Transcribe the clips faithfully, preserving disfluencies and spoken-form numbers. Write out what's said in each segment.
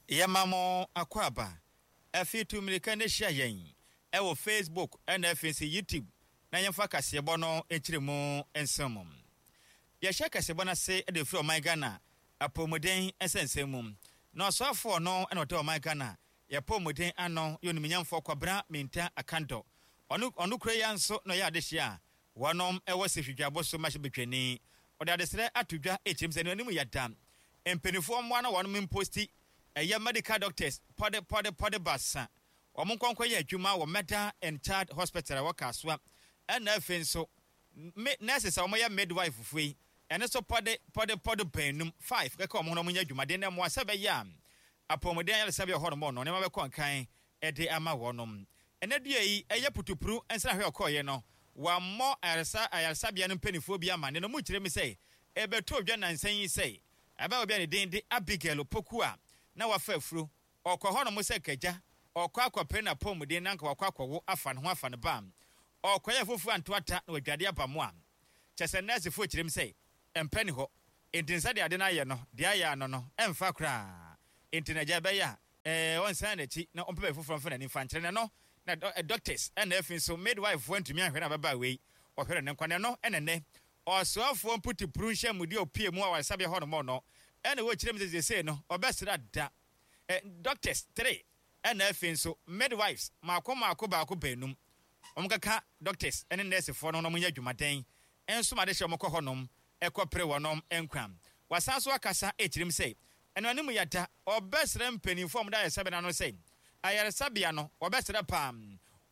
Yɛma mo akwaaba. Afei tu mmirika na hyia yɛn wɔ Facebook na afei nso YouTube na yɛmfa kaseɛbɔ no nkyerɛmu nsɛm mu. Yɛhyɛ kaseɛbɔ no ase de firi ɔman Ghana apɔwmuden nsɛnsɛm mu. Na ɔsoafoɔ no na ɔda ɔman Ghana yɛapɔwmuden ano yɛ onimnyamfoɔ Kwabena Mintah Akandoh. Ɔno ɔno kura yi ara nso na ɔyɛ adehyeɛ a wɔnom wɔ Sehwidwabo so mmarahyɛbadwani. Ɔde adesrɛ ato dwa rekyerɛ mu sɛ anuanom yɛda mpanimfoɔ mmoa na wɔnom mposti ɛyɛ medical doctors pɔde pɔde pɔde baasa wɔn nkɔ nkɔyɛ adwuma wɔ Mother and Child Hospital a ɛwɔ Kasoa, ɛna afei nso me nurses a wɔyɛ midwife foɔ yi ɛno nso pɔde pɔde pɔde baanum, five, kɛkɛ wɔn ho na wɔnyɛ adwumaden na mmoa sɛ ɛbɛyɛ a apɔmuden ayaresabea wɔ hɔnom no nneɛma bɛkɔ nkan de ama wɔnom. Ɛnɛ dua yi ɛyɛ putupru nsrahwɛ a ɔkɔeɛ no wammɔ ayaresa ayaresabea no mpanimfoɔ bi amanneɛ na wɔkyerɛ mu sɛ ɛbɛtɔɔ dwa nnansa yi sɛ abaayewa bi a ne din de Abigail Opoku a na wafa afuro, ɔkɔ hɔnom sɛ kagya, ɔkɔ akɔpere n'apɔwmuden na anka wakɔ akɔwo afa ne ho afa ne ba. Ɔkɔyɛɛ foforo anto ata na wadwade aba mo a kyerɛ sɛ nɛɛsefo kyerɛ mu sɛ mpa nni hɔ. Enti no sɛdeɛ ade no ayɛ no, deɛ ayɛ ano no, ɛmfa koraa. Enti no agya ɛbɛyɛ a ɛɛ ɔnsan n'akyi na ɔmpɛ baabi foforɔ mfa n'ani mfa nkyerɛ no. Ɛno na dɔ doctors ɛna afei nso midwife foɔ antumi anhwɛ no ababaawa yi, ɔhwere ne nkwa. Na ɛno na ɛnnɛ Ɔsoafoɔ mputupru nhyɛmudie a ɔpue mu awaresabea hɔ nom no ɛna wɔkyerɛ mu sɛ seesei no ɔbɛsra da eh, doctors three ɛna afei nso midwives maako maako baako baanum wɔn kaka doctors ɛne nursefoɔ no na wɔn nyɛ adwumaden nso ma adehyɛ wɔn kɔ hɔ nom ɛkɔ pere wɔnom nkwa. Wasan so akasa ɛkyerɛ mu sɛ ɛno anim yada ɔbɛsrɛ mpaninfoɔ a wɔda ayaresabea no ano sɛ ayaresabea no wɔbɛsrɛ paa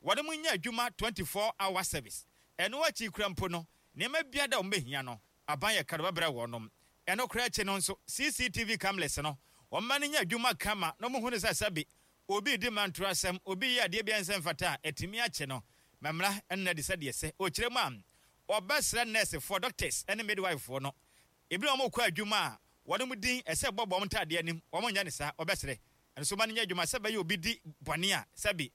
wɔnom nyɛ adwuma twenty four hour service ɛno akyi kura mpo no Nneɛma biara a wɔbɛhia no, aban yɛ krado bɛbrɛ wɔnom. Ɛno koraa akyi no nso, C C T V cameras no, wɔmma no nyɛ adwuma kama na wɔhunu sɛ sɛbe obi redi mmantorɔ asɛm, obi reyɛ adeɛ bi a ɛnsɛ mfata a, atumi akye no ma mmara nna adi sɛdeɛ ɛsɛ. Ɔkyerɛ mu a, wɔbɛsrɛ nɛɛsefoɔ, doctors ne midwife-foɔ no, ebinom a wɔkɔ adwuma a, wɔnom din ɛsɛ ɛbɔbɔ wɔn ntaadeɛ anim, wɔnyɛ no saa, wɔbɛsrɛ ɛno nso ma no nyɛ adwuma sɛ ɛbɛyɛ obi di bɔne a, sɛbe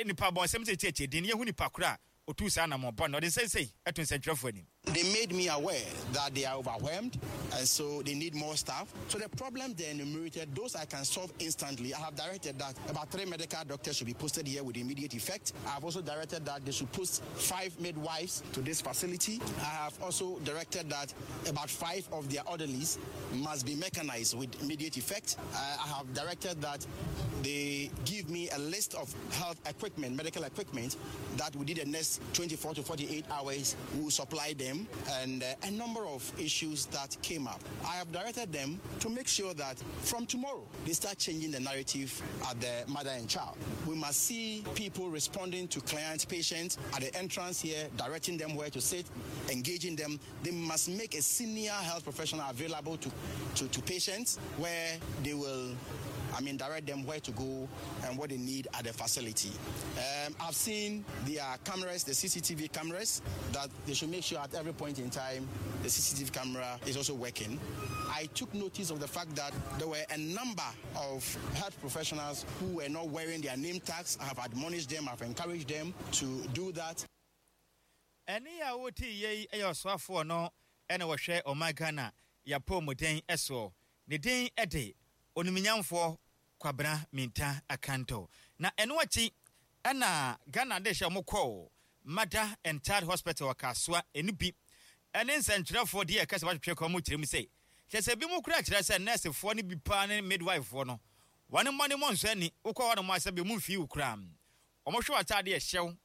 nnipa abɔnsɛm kyerɛkyerɛ din no, yɛhu nipa korɔ a ɔtuu saa anammɔn bɔne no. Ɔde nsɛnsɛi to nsɛntwerɛfoɔ anim. They made me aware that they are overwhelmed and so they need more staff. So the problems they enumerated, those I can solve instantly. I have directed that about three medical doctors should be posted here with immediate effect. I have also directed that they should post five midwives to this facility. I have also directed that about five of their orderlies must be mechanized with immediate effect. Uh, I have directed that they give me a list of health equipment, medical equipment, that within the next twenty-four to forty-eight hours we will supply them, and uh, a number of issues that came up. I have directed them to make sure that from tomorrow they start changing the narrative at the mother and child. We must see people responding to clients, patients at the entrance here, directing them where to sit, engaging them. They must make a senior health professional available to, to, to patients where they will, I mean, direct them where to go and what they need at the facility. Um, I've seen their cameras, the C C T V cameras, that they should make sure at every point in time the C C T V camera is also working. I took notice of the fact that there were a number of health professionals who were not wearing their name tags. I have admonished them, I've encouraged them to do that. Ɛne a wote yei yɛ ɔsoafoɔ no ɛna wɔhwɛ ɔman Ghana yɛapɔmuden soɔ. Ne din de onimnyamfoɔ Kwabena Mintah Akandoh. Na ɛno akyi ɛna Ghana de hyɛ ɔmo kɔɔ Mother and Child Hospital wɔ Kasoa. Ɛno bi ɛne nsɛntwerɛfoɔ deɛ ɛka sɛ watwetwe kɔn mu kyerɛ mu sɛ kyerɛ sɛ bi mu kura kyerɛ sɛ nɛɛsefoɔ no bi paa ne midwifefoɔ no wɔne mmɔ ne mmɔ nsɔ ani. Wokɔ hɔ nom a, sɛ bi mu mfii wo koraa, wɔhwɛ w'atadeɛ ɛhyɛw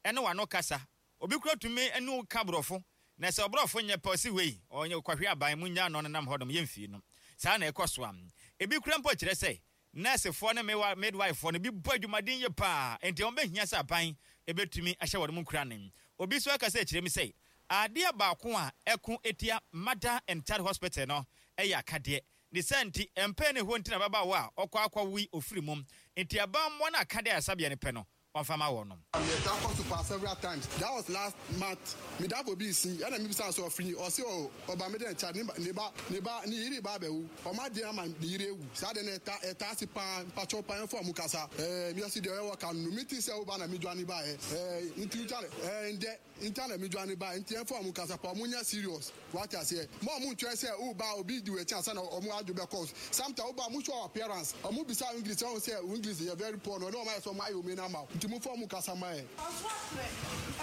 ɛne w'ano kasa. Obi kura tumi ne wo ka borɔfo na sɛ ɔborɔfo nyɛ pɛ, ɔsi wei ɔnyɛ kɔhwe aban mu nya no nenam hɔnom yɛmfii no. Saa na ɛkɔ so a ebi kura mpo kyerɛ sɛ nɛɛsefoɔ ne midwifefoɔ no bi bɔ adwumaden yie paa, nti wɔn bɛhia sɛ aban ebɛtumi ahyɛ wɔn mu nkura ne obi so akasa akyerɛ mi sɛ adeɛ baako a ɛko etia Mother and Child Hospital no ɛyɛ akadeɛ ne sɛ nti mpɛn ne hɔ nti na ababaawa a ɔkɔ akɔwi ofiri mu nti aban no akadeɛ ayaresabea no pɛ no wɔmfa ma wɔ no. Yɛta kɔ so pa several times. That was last month. Medafo bi si ɛna mebisa sɛ ɔfiri, ɔse ɔ ɔba me dɛ nkyɛ ne ba ne ba ne yere ba abɛwu, ɔma deɛ ama ne yere ewu. Saa de no ɛta ɛta ase paa. Mpakyɛw paa, ɛmfa ɔmo kasa. ɛɛ miasi deɛ ɔyɛ wɔ ka no mi ti sɛ ɔba na mi dwane ba yɛ ɛɛ nti ntwa ɛɛ ndɛ nta na mi dwane ba, nti ɛmfa ɔmo kasa pa, ɔmo nyɛ serious. Wate aseɛ? Mo a ɔmo ntwɛn sɛ woba, obi di w'akyi ansa na ɔmo adwo bɛkɔ. Sometimes woba, mo show appearance, ɔmo bisa English, ɔmo sɛ English yɛ very poor no, ɔne ɔmo ayɛ sɛ ɔmo ayɛ ome no ama wo, nti momfa ɔmo kasa ma yɛ. Ɔso atrɛ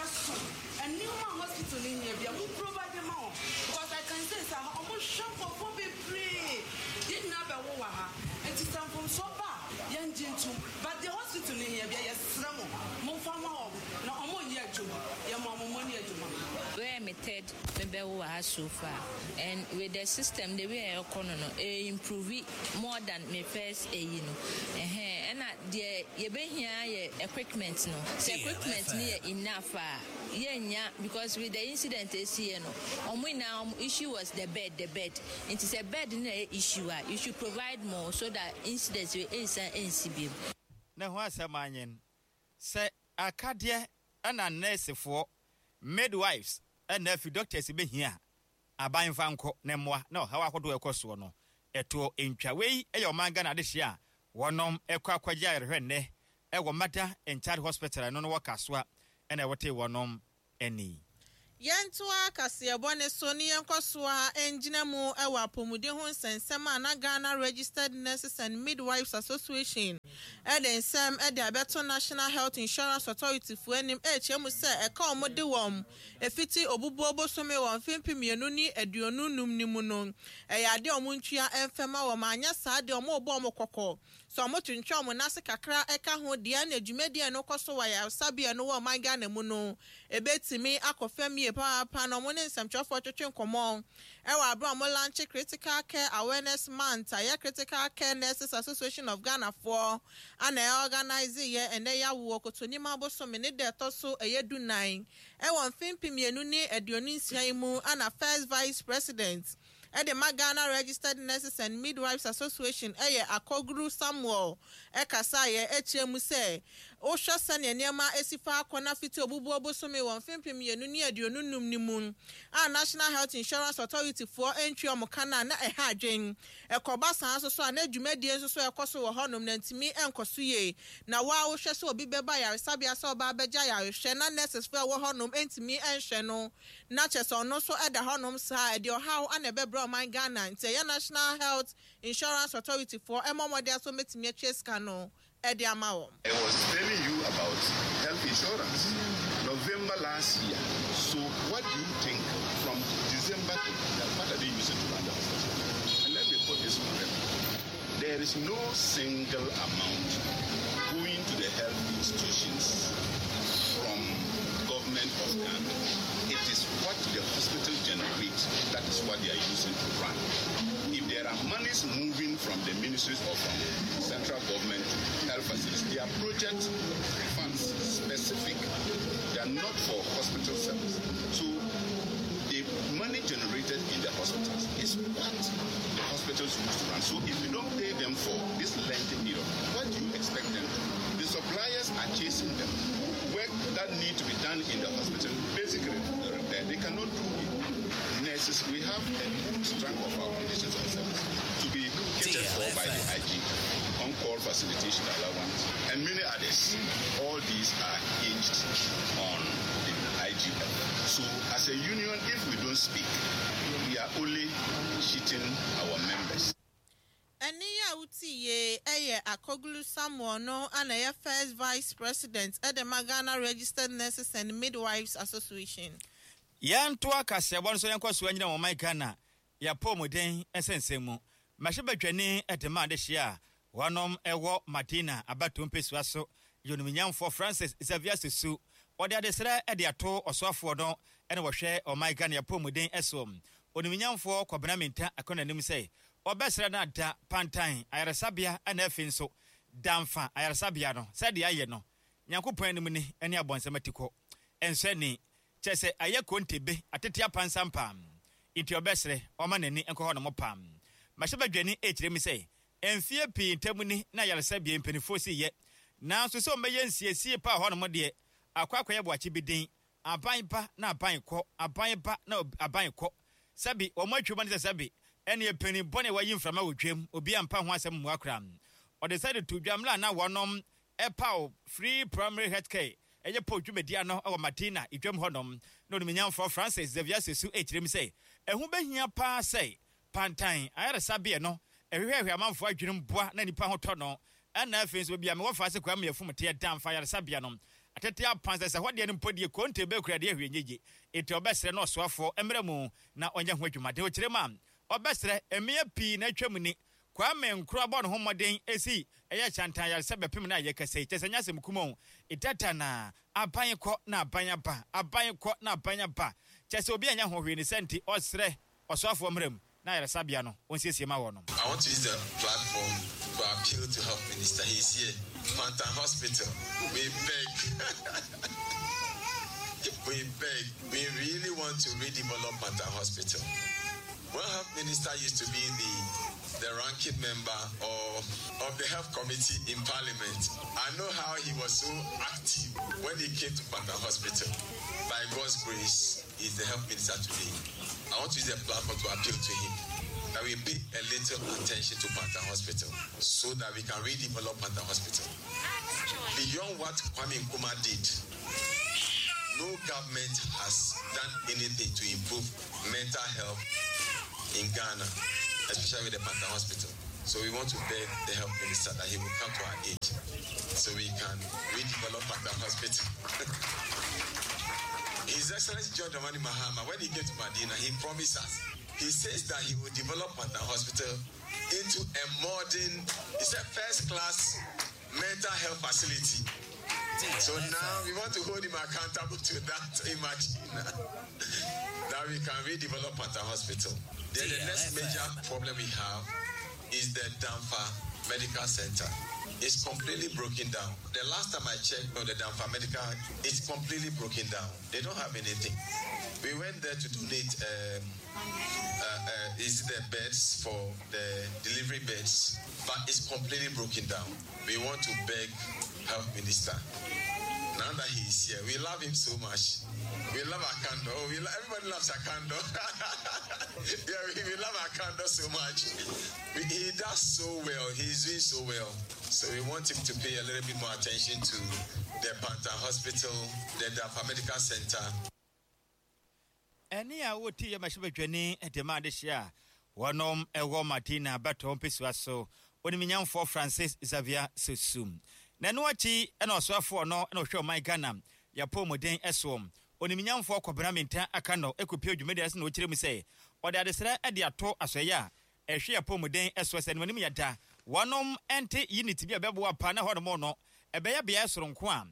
ɛso nneɛma a hospital no hia bia mo provide ma wɔn, because I can say sɛ ɔmo hwɛ nkurɔfoɔ bebree. Yɛn nyinaa bɛwo wɔ ha, nti sɛ mfomsoɔ ba a, yɛngye ntom, but deɛ hospital no hia bia, yɛsrɛ mo, momfa ma wɔn na ɔmo nyɛ adwuma. Yɛma ɔmo mmɔ ne adwuma. Where me third mebɛwo wɔ ha so far, and with the system, the way ɛkɔ no no ɛ improve more than me first ɛyi no. Ɛhɛn, ɛna deɛ yɛbɛhia yɛ equipment no. Sɛ equipment no yɛ enough a, yɛnya, because with the incident esi yɛ no, ɔmo nyinaa ɔmo issue was the bed, the bed. Nti sɛ bed no yɛ issue a, you should provide more so that incidents wey ɛnsan ɛnsi bio. Ne ho asɛm anyen sɛ akadeɛ ɛna nɛɛsefoɔ, midwives, ɛna afi doctors bɛhia a, aban fa nkɔ ne mmoa na ɔhaw ahodoɔ ɛkɔ soɔ no ɛtoɔ ntwa. Wei ɛyɛ ɔman Ghana adehyeɛ a wɔnom ɛkɔ akɔgye ayarehwɛ nnɛ ɛwɔ Mother and Child Hospital. Ɛno no wɔ Kasoa ɛna ɛwɔte wɔnom ani. Yɛntoa kaseɛbɔ ne so ne yɛnkɔ so a ɛngyina mu ɛwɔ apɔmuden ho nsɛnsɛm a na Ghana Registered Nurses and Midwives Association ɛde nsɛm ɛde abɛto National Health Insurance Authority foɔ anim, ɛrekyerɛ mu sɛ ɛka wɔn de wɔn efiti Obubuo bosome wɔ mfe mpem mmienu ne aduonu num ne mu no, ɛyɛ adeɛ a wɔn ntua ɛmfɛma wɔn. Anyɛ saa deɛ, wɔn rebɔ wɔn kɔkɔ sɛ wɔn twentwɛn wɔn n'ase kakra ɛka ho deɛ, na dwumadie no kɔ so wɔ ayaresabea no wɔ ɔman Ghana mu no ebetumi akɔ fam yie papaapa. Na wɔn ne nsɛmtwerɛfoɔ twetwe nkɔmɔ ɛwɔ abere a wɔn launch Critical Care Awareness Month a yɛ Critical Care Nurses Association of Ghana foɔ ana ɛ organize yɛ ɛnɛ yawoɔ Kotonim abosome ne deɛ ɛtɔ so ɛyɛ du nan ɛwɔ mfe mpem mmienu ne aduonu nsia yi mu. Ana first vice president ɛde ma Ghana Registered Nurses and Midwives Association, ɛyɛ Akɔguru Samuel, ɛkasa yɛ ɛkyerɛ mu sɛ wohwɛ sɛnea nneɛma esi fa akɔ na fiti Obubuo bosome wɔ mfe mpem mmienu ne aduonu num ne mu a National Health Insurance Authority foɔ ntwi ɔmo ka na na ɛha adwen ɛkɔba saa nso so a, na dwumadie nso so ɛkɔ so wɔ hɔnom na ntumi nkɔ so yie. Na waa wohwɛ sɛ obi bɛba ayaresabea sɛ ɔba abɛgya ayarehwɛ na nurses foɔ ɛwɔ hɔnom ntumi nhwɛ no, na kyerɛ sɛ ɔno nso ɛda hɔnom saa, ɛde ɔhaw ana ɛbɛbrɛ ɔman Ghana. Nti ɛyɛ National Health Insurance Authority foɔ ɛmɔ ɔmɔde aso mɛtumi atwa sika no ɛde ama wɔn. I was telling you about health insurance November last year. So what do you think from December to what are they using to run the hospital? And let me put this on record. There is no single amount going to the health institutions from government of Ghana. It is what the hospital generates, that is what they are using to run. If there are monies moving from the ministries or from central government to health facilities, they are project funds specific. They are not for hospital service. So the money generated in the hospitals is what the hospitals use to run. So if you don't pay them for this lengthy period, what do you expect them to do? The suppliers are chasing them. Work that need to be done in the hospital, basically the repair, they cannot do it. Nurses, we have a good strength of our clinicians on service to be catered for by the I G, on-call facilitation allowance, and many others. All these are hinged on the I G F. So as a union, if we don't speak, we are only cheating our members. Ɛne yi a wotie ɛyɛ Akɔgulu Samuel no ana ɛyɛ first vice president ɛde ma Ghana Registered Nurses and Midwives Association. Yɛnto akaseɛbɔ no so, yɛnkɔ so anyina wɔn man Ghana yɛapɔmuden nsɛnsɛm mu. Mmarahyɛbadwani de ma adehyeɛ a wɔnom ɛwɔ Madina abatoɔ mpɛsua so, yɛonimnyamfoɔ Francis Xavier Sosu, ɔde adesrɛ de ato ɔsoafoɔ no ɛna wɔhwɛ ɔman Ghana yɛapɔmuden ɛso, onimnyamfoɔ Kwabena Minta akɔ n'anim, sɛ ɔbɛsrɛ no ada Pantan ayaresabea ɛna afei nso Damfa ayaresabea no, sɛdeɛ ayɛ no, Nyankopɔn anim ni ne abɔnsɛm atikɔ ɛnsɛ ni kyerɛ sɛ ayɛ kontebe atete apansam pam, nti ɔbɛsrɛ ɔma n'ani nkɔ hɔ nom pam. Mahyɛbadwani ɛkyerɛ mi sɛ mfie pii ntam ni na ayaresabea mpanimfoɔ si yɛ, nanso sɛ ɔmbɛyɛ nsiesie pa hɔ nom deɛ, akɔ akɔyɛ boakye bi din. Aban ba na aban kɔ, aban ba na aban kɔ, sɛbi wɔn atwam ne sɛ sɛbi ɛne panin bɔne a wɔayi mframa wɔ twam, obi ampa ho asɛm mmua koraa. Ɔde sɛ de to dwa mmerɛ a na wɔnom ɛpaw free primary health care ɛyɛ pɔ dwumadie ano ɛwɔ Madina idwam hɔnom na onimnyamfoɔ Francis Xavier Sosu ɛkyerɛ mu sɛ Ɛho bɛhia paa sɛ Pantang ayaresabea no ɛhwehwɛhwɛ amanfoɔ adwenem boa na nipa ho tɔ no. Ɛna afei nso baabi a mewɔ fa sɛ Kwame Afum teɛ Damfa ayaresabea no atete apan sɛ sɛ hɔ deɛ no mpo deɛ konte bɛkura deɛ hwee nyegye. Enti ɔbɛsrɛ na ɔsoafoɔ mmerɛ mu na ɔnyɛ ho adwumaden. Ɔkyerɛ mu a ɔbɛsrɛ mmea pii na atwa mu ni Kwame Nkrumah bɔ ne ho mmɔden esi ɛyɛ Kyantan ayaresabea bɛpem na ayɛ kɛse kyɛ sɛ nyɛ asɛm kumɔn ɛdada na aban kɔ na aban aba, aban kɔ na aban aba, kyɛ sɛ obi anya ho hwee ne sɛ nti ɔsrɛ ɔsoafoɔ mmerɛ mu na ayaresabea no ɔnsiesie ma wɔ no. I want to use the platform to appeal to Health Minister. He's here. Pantang Hospital. We beg. We beg. We really want to redevelop Pantang Hospital. When Health Minister used to be the, the ranking member of, of the Health Committee in Parliament, I know how he was so active when he came to Pantang Hospital. By God's grace, he's the Health Minister today. I want to use the platform to appeal to him that we pay a little attention to Pantang Hospital so that we can redevelop Pantang Hospital. Beyond what Kwame Nkrumah did, no government has done anything to improve mental health in Ghana, especially with the Pantang Hospital. So we want to beg the Health Minister that he will come to our aid so we can redevelop Pantang Hospital. His Excellency John Dramani Mahama, when he came to Madina, he promised us. He says that he will develop Pantang Hospital into a modern, it's a first-class mental health facility. So now we want to hold him accountable to that imagine that we can redevelop Pantang Hospital. Then the next major problem we have is the Damfa Medical Center. It's completely broken down. The last time I checked on the Damfa Medical, it's completely broken down. They don't have anything. We went there to donate, um, uh, uh, is the beds for the delivery beds, but it's completely broken down. We want to beg Health Minister. Now that he is here, we love him so much. We love Akandoh. Oh, we lo- everybody loves Akandoh. Yeah, we, we love Akandoh so much. We, he does so well. He's doing so well. So we want him to pay a little bit more attention to the Pantang Hospital, the Damfa Medical Center. Ɛne a wɔti yɛ mahyɛbadwani de ma adehyɛ a wɔnom ɛwɔ Madina bɛtɔ mpɛsua so oniminyamfoɔ Francis Xavier Sosu. Na ɛno akyi ɛna ɔsoafoɔ no ɛna ɔhwɛ ɔman Ghana yɛpɔ ɛsoɔ oniminyamfoɔ Kwabena Mintah Akandoh ɛkɔpie dwumadi ase na ɔkyerɛ mu sɛ ɔde adesrɛ de ato asɔeɛ a ɛhwɛ yɛpɔ ɛsoɔ sɛ animanim yɛda wɔnom ɛnte unit bi a ɛbɛboa pa na hɔnom no ɛbɛyɛ beaeɛ soronko a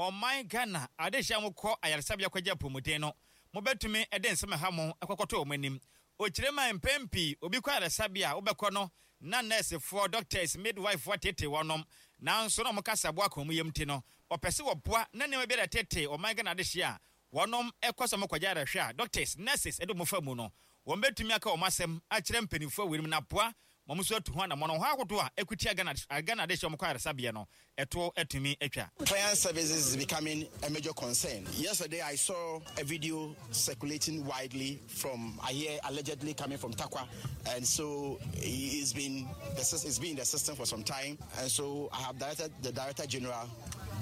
ɔman Ghana adehyɛ a mokɔ ayaresabea kɔgye apɔmuden no mobɛtumi de nsɛm ɛha mo ɛkɔkɔtɔ wɔn anim. Ɔkyerɛ ma mpɛn pii obi kɔ ayaresabea a wobɛkɔ no na nɛɛsefoɔ, doctors, midwife tete wɔnom, nanso na ɔmo kasa boa kɔn mu yam ti no ɔpɛ sɛ wɔboa na nneɛma bi a tete ɔman Ghana adehyɛ a wɔnom ɛkɔ sɛ ɔmo ayarehwɛ a doctors, nurses ɛde ɔmo fa mu no wɔn bɛtumi aka wɔn asɛm akyerɛ mpanimfoɔ wɔ mu na boa wɔn nso atu ho anammɔn ho ahodoɔ a ɛkutia Ghana Ghana adehyɛ ɔmo kɔ ayaresabea no ɛto atumi atwa. Client services is becoming a major concern. Yesterday I saw a video circulating widely from, I hear allegedly coming from Tarkwa, and so it's been the it's been in the system for some time, and so I have directed the Director General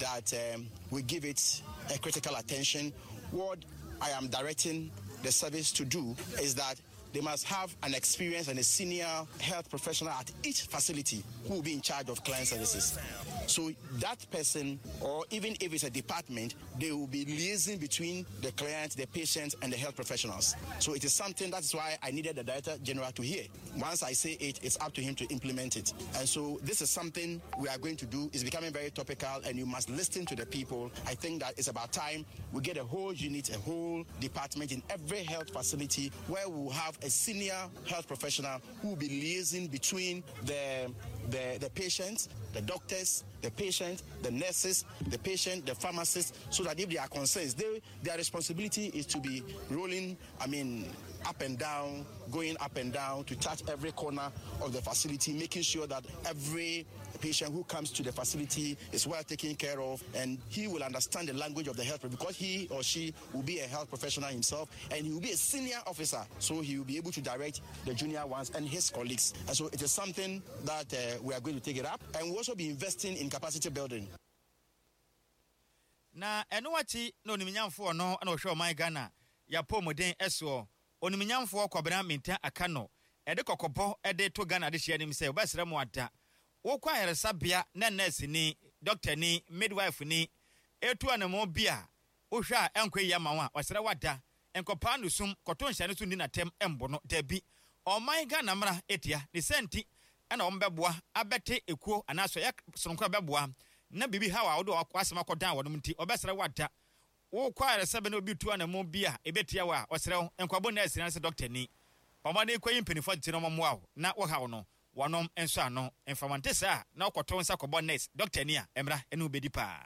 that um, we give it a critical attention. What I am directing the service to do is that they must have an experienced and a senior health professional at each facility who will be in charge of client services. So that person, or even if it's a department, they will be liaising between the client, the patient, and the health professionals. So it is something, that's why I needed the Director General to hear. Once I say it, it's up to him to implement it. And so this is something we are going to do. It's becoming very topical, and you must listen to the people. I think that it's about time we get a whole unit, a whole department in every health facility where we will have a senior health professional who will be liaising between the, the, the patients, the doctors, the patient, the nurses, the patient, the pharmacists, so that if they are concerns, they, their responsibility is to be rolling, I mean, up and down, going up and down to touch every corner of the facility, making sure that every patient who comes to the facility is well taken care of, and he will understand the language of the health, because he or she will be a health professional himself, and he will be a senior officer, so he will be able to direct the junior ones and his colleagues. And so it is something that uh, we are going to take it up, and we'll also be investing in capacity building. Na ɛno akyi na onimnyamfoɔ no na ɔhwɛ ɔman Ghana yɛapɔ mmɔden ɛsoɔ Onimnyamfoɔ Kwabena Mintah Akandoh ɛde kɔkɔbɔ ɛde to Ghana de hyia anim sɛ wɔbɛsrɛ mu ada wokɔ ayaresabea na nurse ni, doctor ni, midwife ni etu anamo bi a wohwɛ a ɛnkɔ yi ama wo a, ɔsrɛ wada nkɔpaa no sum kɔto nhyɛne so nni n'atɛm ɛmbɔ no. Dabi, ɔman Ghana mmara etia ne sɛ nti ɛna wɔn bɛboa abɛte ekuo anaasɛ ɛyɛ soronko a bɛboa na biribi haw a wode w'asɛm akɔdan wɔn nti, ɔbɛsrɛ wada wokɔ ayaresabea na obi tu anamo bi a ebetia wo a, ɔsrɛ wo nkɔbɔ nurse ni anaasɛ doctor ni, ɔmo kɔ yi mpanimfoɔ tete na ɔmo mmoa wo na wɔhaw no wɔnom nso ano mfamante saa na wokɔto nsa kɔbɔ nurse, doctor ni a, mmara ɛne wo bɛdi paa.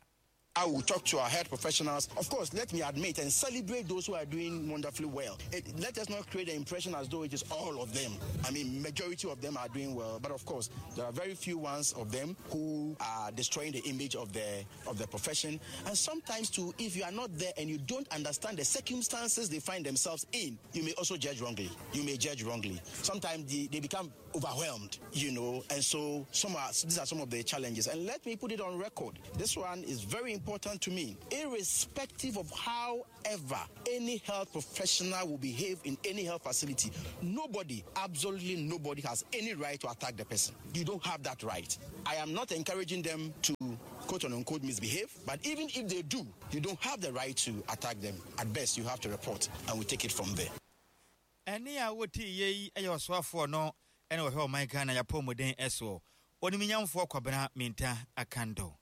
I will talk to our health professionals. Of course, let me admit and celebrate those who are doing wonderfully well. It, let us not create the impression as though it is all of them. I mean, majority of them are doing well, but of course, there are very few ones of them who are destroying the image of the of the profession. And sometimes too, if you are not there and you don't understand the circumstances they find themselves in, you may also judge wrongly. You may judge wrongly. Sometimes they, they become overwhelmed, you know, and so some are, these are some of the challenges. And let me put it on record. This one is very important to me. Irrespective of however any health professional will behave in any health facility, nobody, absolutely nobody has any right to attack the person. You don't have that right. I am not encouraging them to quote unquote misbehave, but even if they do, you don't have the right to attack them. At best, you have to report, and we take it from there. Ɛne a wote yie yi yɛ ɔsoafoɔ no ɛna wɔhwɛ ɔman Ghana yɛapɔmuden ɛsoɔ, Onimnyamfoɔ Kwabena Mintah Akandoh.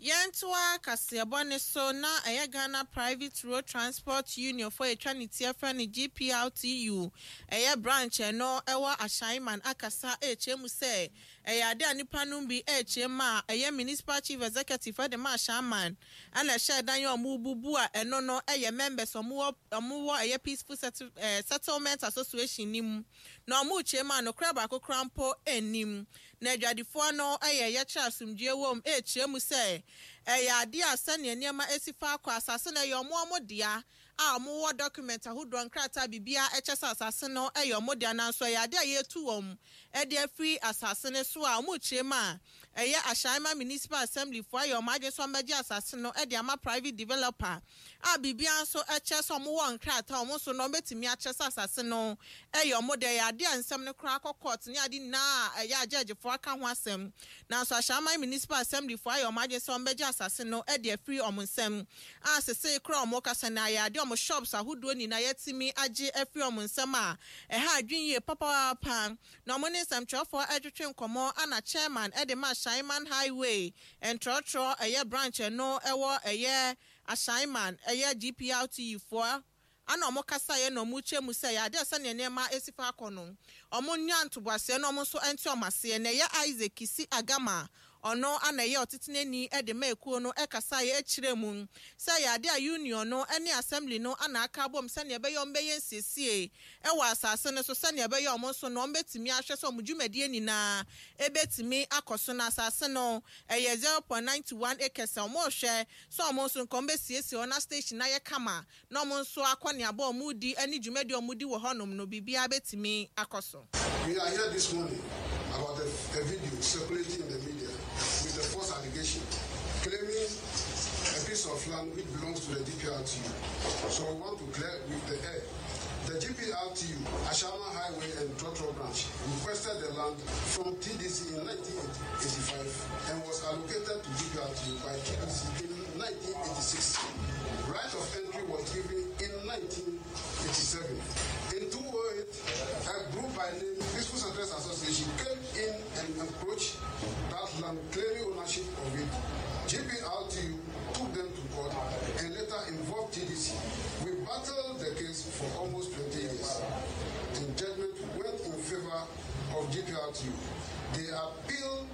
Yɛntoa kaseɛbɔ ne so na ɛyɛ Ghana Private Road Transport Union fo atwa ne ti afrɛ no G P R T U, ɛyɛ branch ɛno ɛwɔ Ahyɛnman akasa ɛrekyerɛ mu sɛ ɛyɛ ade a nipa no bi ɛrekyerɛ mu a ɛyɛ municipal chief executive ɛde ma Ahyɛnman ɛna ɛhyɛ dan yɛ ɔmo bubu a ɛno no ɛyɛ members ɔmo wɔ ɔmo wɔ ɛyɛ Peaceful Settle, ɛɛ settlement Association ni mu na ɔmo rekyerɛ mu a nokora baako kora mpo ɛnim na adwadifoɔ no ɛyɛ yɛkyerɛ asomdue wɔ mu ɛrekyerɛ mu sɛ ɛyɛ adeɛ a sɛnea nneɛma esi fa akɔ asase no ɛyɛ ɔmo ɔmo dea a ɔmo wɔ document ahodoɔ, nkrataa biribiara ɛkyɛ sɛ asase no ɛyɛ ɔmo dea, nanso ɛyɛ adeɛ a yɛtu wɔn ɛde afiri asase no so a ɔmo kyerɛ mu a ɛyɛ Ahyɛnma Municipal Assembly foɔ ayɛ ɔmo adwene sɛ ɔmo asase no ɛde ama private developer a biribiara nso ɛkyɛ sɛ ɔmo wɔ nkrataa, ɔmo nso no ɔmo betumi akyerɛ sɛ asase no ɛyɛ ɔmo dea. Ɛyɛ adeɛ a nsɛm no koraa akɔ court ne ade nyinaa a ɛyɛ agyɛgyefoɔ aka ho asɛm, nanso Ahyɛnma Municipal Assembly foɔ ayɛ ɔmo adwene sɛ ɔmo bɛgye asase no ɛde afiri ɔmo nsam a sese koraa ɔmo kasa na ayɛ adeɛ ɔmo shops ahodoɔ nyinaa yɛtumi agye afiri ɔmo nsam a ɛha adwene yie papaapa. Na ɔmo ne nsɛmtwerɛfoɔ ɛtwetwe nkɔmɔ ana chairman ɛde ma Ahyɛnman Highway ntrɔtrɔ ɛyɛ branch no ɛwɔ ɛyɛ Ahyɛnman ɛyɛ G P R T U foɔ ana ɔmo kasa yɛ na ɔmo kyɛ mu sɛ yɛ adeɛ sɛnea nneɛma esi fa akɔ no, ɔmo nya ntoboaseɛ na ɔmo nso nte ɔmo aseɛ. Na ɛyɛ Isaac Kisi Agama, ɔno ana ɛyɛ ɔtetenani ɛde ma ekuo no, ɛkasa yɛ akyerɛ mu sɛ yɛ ade a union no ɛne assembly no ana aka abom sɛnea ɛbɛyɛ ɔmo bɛyɛ nsiesie ɛwɔ asase no so, sɛnea ɛbɛyɛ ɔmo nso no ɔmo bɛtumi ahwɛ sɛ ɔmo dwumadie nyinaa ɛbɛtumi akɔ so. Na asase no ɛyɛ zero point ninety one acres a ɔmo rehwɛ sɛ ɔmo nso nka ɔmo bɛsiesie hɔ na station ayɛ kama na ɔmo nso akɔ neaba ɔmo di ɛne dwumadie ɔmo di wɔ hɔnom no biribiara bɛtumi akɔ so. We are here this morning about a, a video circulating in the media with a false allegation claiming a piece of land which belongs to the G P R T U. So we want to clear with the air. The G P R T U, Ashaiman Highway and Trotro Branch, requested the land from T D C in nineteen eighty-five and was allocated to G P R T U by T D C in nineteen eighty-six. Right of entry was given in nineteen eighty-seven. In two thousand eight, a group by name Peaceful Settlers Association came in and encroached that land, claiming ownership of it. G P R T U took them to court and later involved T D C. We battled the case for almost twenty years. The judgment went in favor of G P R T U. They appealed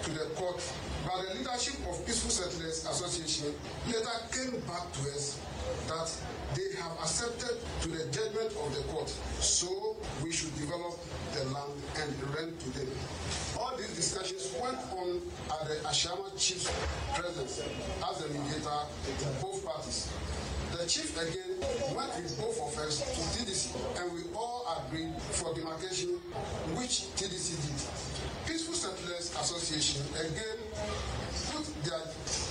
to the court, but the leadership of Peaceful Settlers Association later came back to us that they have accepted to the judgment of the court, so we should develop the land and rent to them. All these discussions went on at the Ashaiman chief's presence as the mediator to both parties. The chief again went with both of us to T D C and we all agreed for demarcation, which T D C did. Peaceful Settlers Midwives Association again put their,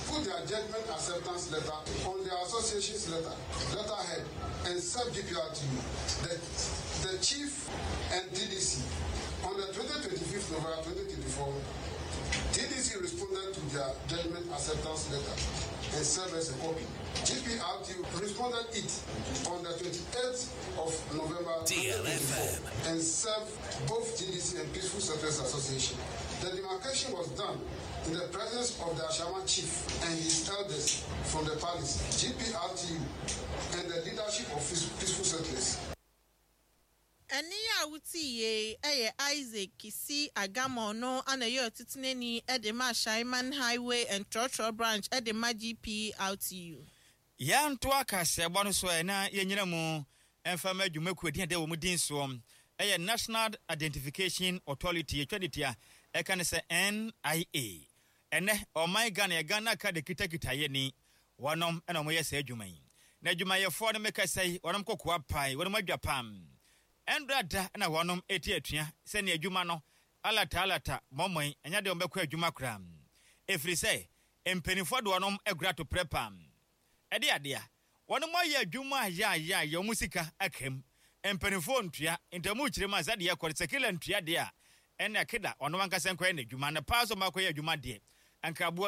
put their judgment acceptance letter on their association's letter, letterhead and served G P R T U, the, the chief and T D C. On the twenty-fifth November twenty twenty-four, T D C responded to their judgment acceptance letter and served us a copy. G P R T U responded it on the twenty-eighth of November twenty twenty-four and served both T D C and Peaceful Settlers Association. The demarcation was done in the presence of the Ashaiman chief and his elders from the palace, G P R T U, and the leadership of Peaceful Settlers. Ɛne a wotie ɛyɛ Isaac Kisi Agama, ɔno ana ɛyɛ ɔtetenani ɛde ma Ashaiman Highway and Trɔtrɔ Branch ɛde ma G P R T U. Yɛnto akaseɛbɔ no so ɛ na yɛnyina mu ɛmfa ma adwumakuo din a ɛda wɔ mu din soɔ ɛyɛ National Identification Authority, yɛtwa de tia ɛka ne sɛ N I A. Ɛnɛ ɔman Ghana, yɛ Ghana Card kitakita yɛ ni, wɔnom ɛna wɔyɛ saa adwuma yi, na adwumayɛfoɔ no mekasa yi, wɔnom kɔkoa pae, wɔnom adwa pam ɛndra da na wɔnom ɛti atua sɛnea adwuma no alata alata mɔmɔn ɛnyɛ deɛ wɔbɛkɔ adwuma koraa, ɛfiri sɛ mpanimfoɔ de wɔnom agura to prɛ pam ɛde adeɛ wɔnom ayɛ adwuma a yɛ ayɛ ayɛ wɔn sika aka mu, mpanimfoɔ ntua ntamu kyerɛ mu a sɛdeɛ ɛkɔ sɛ kila ntua deɛ a ɛna keda ɔno ankasa nkɔyɛ n'adwuma na paa so ɔmo akɔyɛ adwuma deɛ nkraboa.